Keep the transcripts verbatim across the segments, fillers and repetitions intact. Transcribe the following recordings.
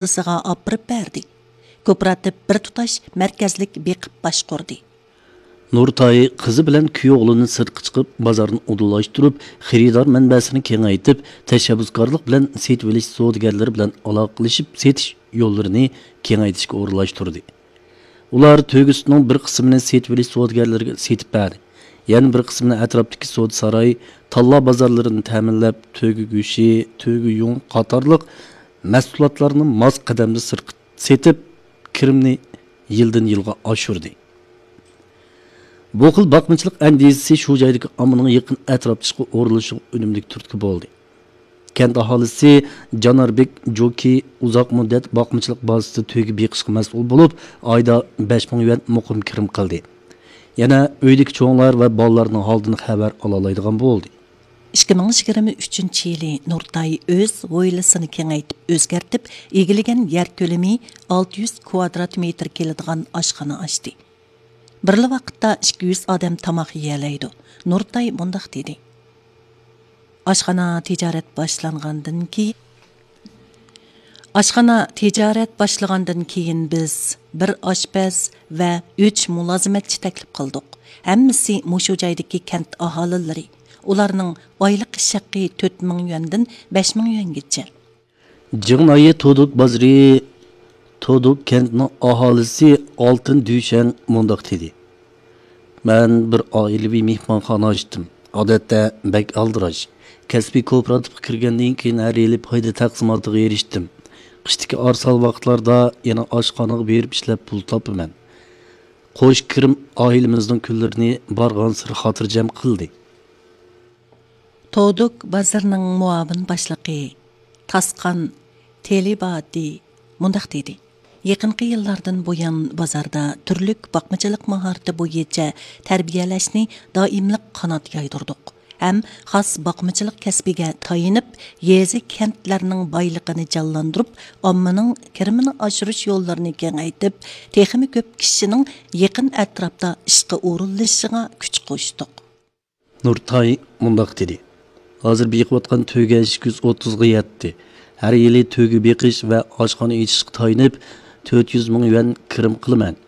بازىسىغا ئاپىرىپ بەردى. كوپىراتىپ بىر تۇتاش مەركەزلىك بېقىپ باشقۇردى. نۇرتاي قىزى بىلەن كۈيئوغلىنى سىرتقا چىقىپ، بازارنى ئۇدۇللاشتۇرۇپ، خېرىدار مەنبەسىنى كېڭەيتىپ، تەشەببۇسكارلىق بىلەن سېتىۋېلىش سودىگەرلىرى بىلەن ئالاقىلىشىپ، سېتىش يوللىرىنى كېڭەيتىشكە ئورۇنلاشتۇردى. ئۇلار تۆگە سۈتىنىڭ بىر قىسمىنى سېتىۋېلىش سودىگەرلىرىگە سېتىپ بەردى. يەنە بىر قىسمىنى ئەتراپتىكى سودا ساراي، تاللا بازارلىرىنى تەمىنلەپ، تۆگە گۆشى، تۆگە يۇڭى قاتارلىق مەھسۇلاتلارنى ماس قەدەمدە سىرتقا سېتىپ، كىرىمنى يىلدىن يىلغا ئاشۇردى. بۇ خىل باقمىچىلىق ئەندىزىسى شۇ جايدىكى ئاممىنىڭ يېقىن ئەتراپلىشىشقا ئورۇنلىشىشىغا ئۈنۈملۈك تۈرتكە بولدى. كەنت ئاھالىسى جاناربېك جوكى ئۇزاق مۇددەت باقمىچىلىق بازىسىدا تۆگە بېقىشقا مەسئۇل بولۇپ، ئايدا بەش مىڭ يۈەن مۇقىم كىرىم قىلدى. يەنە ئۆيدىكى چوڭلار ۋە بالىلارنىڭ ھالىدىن خەۋەر ئالالايدىغان بولدى. ئىككى مىڭ يىگىرمە ئۈچىنچى يىلى نۇرتاي ئۆز ھويلىسىنى كېڭەيتىپ ئۆزگەرتىپ، ئىگىلىگەن يەر كۆلىمى ئالتە يۈز كۋادرات مېتىر كېلىدىغان ئاشخانا ئاچتى. بىرلا ۋاقىتتا ئىككى يۈز ئادەم تاماق يېيەلەيدۇ. نۇرتاي مۇنداق دېدى: ئاشخانا تىجارەت باشلانغاندىن كېيىن، ئاشخانا تىجارەت باشلىغاندىن كېيىن بىز بىر ئاشپەز ۋە ئۈچ مۇلازىمەتچى تەكلىپ قىلدۇق. ھەممىسى مۇشۇ جايدىكى كەنت ئاھالىلىرى. ئۇلارنىڭ ئايلىق ئىش ھەققى تۆت مىڭ يۈەندىن بەش مىڭ يۈەنگىچە. جىڭنايى تودۇك بازىرى، تودۇك كەنتىنىڭ ئاھالىسى ئالتىن دۈشەن مۇنداق دېدى: مەن بىر ئائىلىۋى مېھمانخانا ئاچتىم. ئادەتتە بەك ئالدىراش. كەسپىي كوپىراتىپقا كىرگەندىن كېيىن ھەر يىلى پايدا تەقسىماتىغا ئېرىشتىم. قىشتىكى ئارسان ۋاقىتلاردا يەنە ئاشخانىغا بېرىپ ئىشلەپ پۇل تاپىمەن. قوش كىرىم ئائىلىمىزنىڭ كۈنلىرىنى بارغانسېرى خاتىرجەم قىلدى. تودۇك بازىرىنىڭ مۇئاۋىن باشلىقى تاسقان تېلىباتى مۇنداق دېدى: يېقىنقى يىللاردىن بۇيان، بازاردا تۈرلۈك باقمىچىلىق ماھارىتى بويىچە تەربىيەلەشنى دائىملىق قانات يايدۇردۇق ھەم خاس باقمىچىلىق كەسپىگە تايىنىپ، يېزا، كەنتلەرنىڭ بايلىقىنى جانلاندۇرۇپ، ئاممىنىڭ كىرىمىنى ئاشۇرۇش يوللىرىنى كېڭەيتىپ، تېخىمۇ كۆپ كىشىنىڭ يېقىن ئەتراپتا ئىشقا ئورۇنلىشىشىغا كۈچ قوشتۇق. نۇرتاي مۇنداق دېدى: ھازىر بېقىۋاتقان تۆگە ئىككى يۈز ئوتتۇزغا يەتتى. ھەر يىلى تۆگە بېقىش ۋە ئاشخانا ئېچىشقا تايىنىپ، تۆت يۈز مىڭ يۈەن كىرىم قىلىمەن.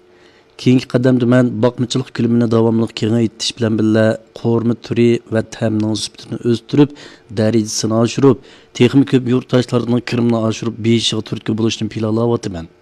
كېيىنكى قەدەمدە مەن باقمىچىلىق كۆلىمىنى داۋاملىق كېڭەيتىش بىلەن بىللە، قورۇما تۈرى ۋە تەمنىڭ سۈپىتىنى ئۆستۈرۈپ، دەرىجىسىنى ئاشۇرۇپ، تېخىمۇ كۆپ يۇرتداشلارنىڭ كىرىمىنى ئاشۇرۇپ، بېيىشىغا تۈرتكە بولۇشنى پىلانلاۋاتىمەن.